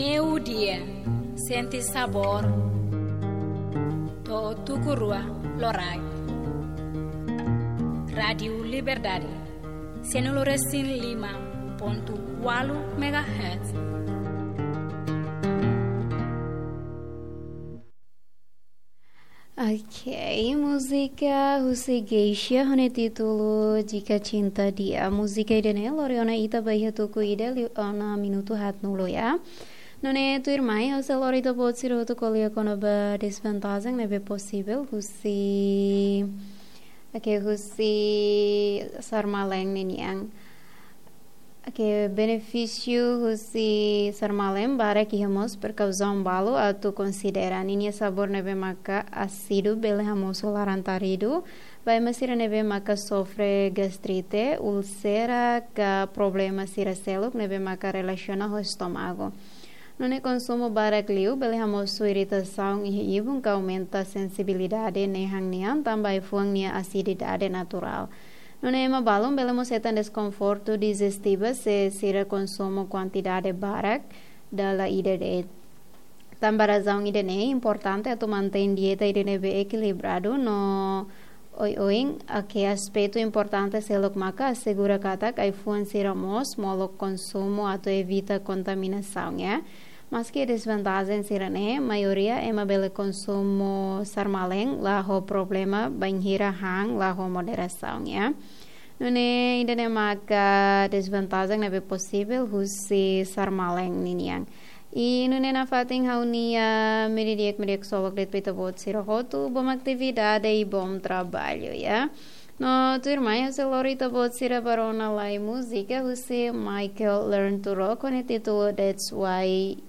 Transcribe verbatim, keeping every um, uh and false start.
Meiudia, sente sabór. To'o tuku rua loraik. Rádiu Liberdade, sianulu resin lima pontu ualu megahertz. Ok, múzika husi Geisha ho nia títulu Jika Cinta Dia. Múzika ida-ne'e lori ona ita ba iha tuku ida liu ona minutu haatnulu ya. Nune'e tuirmai, ha'u sei lori ita-boot sira hotu ko'alia kona-ba dezvantajen ne'ebé posivel husi, ok, husi sarmale'en ninian. Ok, benefísiu husi sarmale'en barak iha, mós prekauzaun balu atu konsidera. Ninia sabór ne'ebé maka ásidu bele hamosu laran-taridu ba ema sira ne'ebé maka sofre gastrite, úlsera ka problema sira seluk ne'ebé maka relasiona ho estómagu. Nune'e konsumu barak liu bele hamosu iritasaun iha ibun ka aumenta sensibilidade nehan nian tanba ai-fuan nia asididade naturál. Nune'e ema balun bele mós hetan deskonfortu dijestivu se sira konsumu kuantidade barak dala ida de'it. Tanba razaun ida-ne'e importante atu mantein dieta ida ne'ebé ekilibradu no oioin. Ok, aspetu importante seluk maka asegura katak ai-fuan sira mós molok konsumu atu evita kontaminasaun ya. Maski dezvantajen sira-ne'e, maioria ema bele konsumu sarmale'en la ho problema bainhira han la ho moderasaun ya. Nune'e ida-ne'e maka dezvantajen ne'ebé posivel husi sarmale'en ninian. I nune'e nafatin ha'u-nia meri di'ak, meri di'ak ksolok de'it ba ita-boot sira hotu, bom atividade i bom traballu ya. No tuirmai ha'u sei lori ita-boot sira ba rona lai múzika husi Michael Learn to Rock ho nia títulu That's Why